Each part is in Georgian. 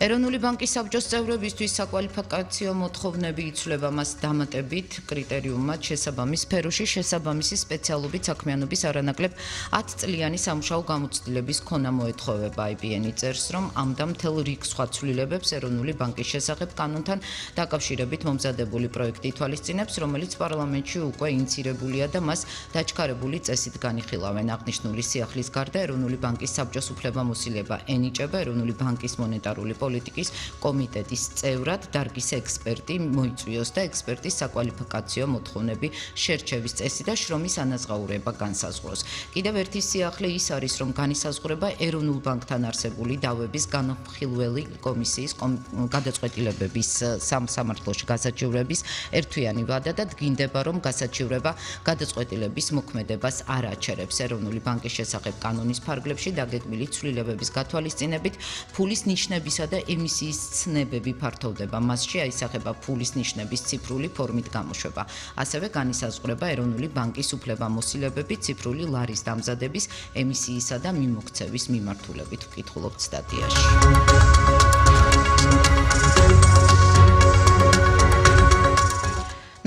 ეროვნული ბანკის საბჭოს წევრებისთვის საკვალიფიკაციო მოთხოვნები იცვლება მას დამატებით კრიტერიუმად შესაბამის სფეროში შესაბამისი სპეციალობით საქმიანობის არანაკლებ 10 წლიანი სამუშაო გამოცდილების ქონა მოეთხოვება. IBN-ი წერს, რომ ამდა მთელ რიგ სხვა ცვლილებებს ეროვნული ბანკის შესახებ კანონთან დაკავშირებით მომზადებული პროექტი ითვალისწინებს, რომელიც პარლამენტში უკვე ინიცირებულია და მას დაჩქარებული წესით განიხილავენ. აღნიშნული სიახლის გარდა ეროვნული ბანკის საბჭოს უფლებამოსილება ენიჭება ეროვნული ბანკის მონეტარული პოლიტიკის კომიტეტის წევრად დარგის ექსპერტი მოიწვიოს და ექსპერტის საკვალიფიკაციო მოთხოვნები შერჩევის წესი და შრომის ანაზღაურება განსაზღვროს. კიდევ ერთი სიახლე ის არის, რომ განისაზღვრება ეროვნულ ბანკთან არსებული დავების განხილველი კომისიის გადაწყვეტილებების სამსამართლოში გასაჩივრების ერთთვიანი ვადა და დგინდება, რომ გასაჩივრება გადაწყვეტილების მოქმედებას არ აჩერებს. ეროვნული ბანკის შესახებ კანონის ფარგლებში დაგეგმილი ცვლილებების გათვალისწინებით ფულის ნიშნებისა და ემისიის ცნებები ფართოვდება. მასში აისახება ფულის ნიშნების ციფრული ფორმით გამოშვება. ასევე განისაზღვრება ეროვნული ბანკის უფლებამოსილებები ციფრული ლარის დამზადების, ემისიისა და მიმოქცევის მიმართულებით. ვკითხულობთ სტატიაში.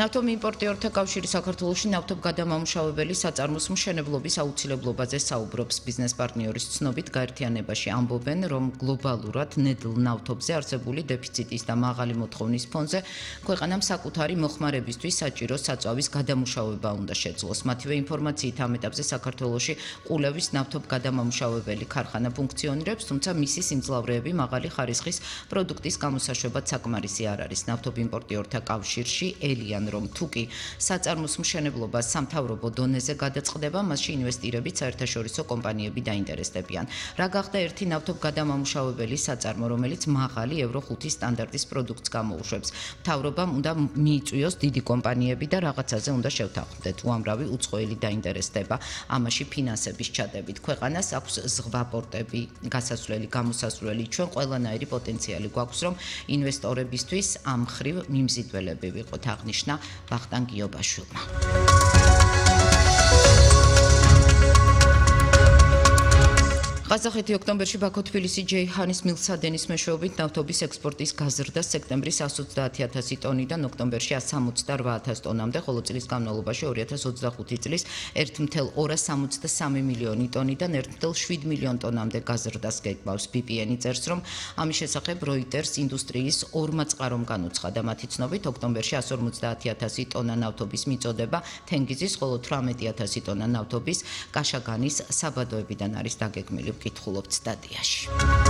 ნავთობიმპორტიორთა კავშირი საქართველოში ნავთობგადამამუშავებელი საწარმოს მშენებლობის აუცილებლობაზე საუბრობს. ბიზნეს პარტნიორის ცნობით გაერთიანებაში ამბობენ, რომ გლობალურად ნედლ ნავთობზე არსებული დეფიციტის და მაღალი მოთხოვნის ფონზე ქვეყანამ საკუთარი მოხმარებისთვის საჭირო საწვავის გადამუშავება უნდა შეძლოს. მათივე ინფორმაციით ამ ეტაპზე საქართველოში ყულევის ნავთობგადამამუშავებელი ქარხანა ფუნქციონირებს, თუმცა მისი სიმძლავრეები მაღალი ხარისხის პროდუქტის გამოსაშვებად საკმარისი არ არის. ნავთობიმპორტიორთა კავშირში ელიან, რომ თუკი საწარმოს მშენებლობა სამთავრობო დონეზე გადაწყდება, მასში ინვესტირებით საერთაშორისო კომპანიები დაინტერესდებიან. რა გახდა ერთი ნავთობგადამამუშავებელი საწარმო, რომელიც მაღალი ევრო 5 სტანდარტის პროდუქტს გამოუშვებს. მთავრობამ უნდა მიიწვიოს დიდი კომპანიები და რაღაცაზე უნდა შევთანხმდეთ. უამრავი უცხოელი დაინტერესდება ამაში ფინანსების ჩადებით. ქვეყანას აქვს ზღვა პორტები, გასასვლელი, გამოსასვლელი. ჩვენ ყველანაირი პოტენციალი გვაქვს, რომ ინვესტორებისთვის ამ ხრივ მიმზიდველები ვიყოთ, აღნიშნა ვახტანგ გიობაშვილმა. ყაზახეთი ოქტომბერში ბაქო-თბილისი ჯეიჰანის მილსადენის მეშვეობით ნავთობის ექსპორტის გაზრდა სექტემბრის 130,000 ტონიდან ოქტომბერში 168,000 ტონამდე, ხოლო წლის განმავლობაში 2025 წლის 1,263 მილიონი ტონიდან 1,7 მილიონ ტონამდე გაზრდას გეკბავს. BPN-ი წერს, რომ ამის შესახებ Reuters ინდუსტრიის ორმა წყარომ განუცხადა. მათი ცნობით, ოქტომბერში 150,000 ტონა ნავთობის მიწოდება თენგიზის, ხოლო 18,000 ტონა ნავთობის კაშაგანის საბადოებიდან არის დაგეგმილი. ვკითხულობთ სტატიაში.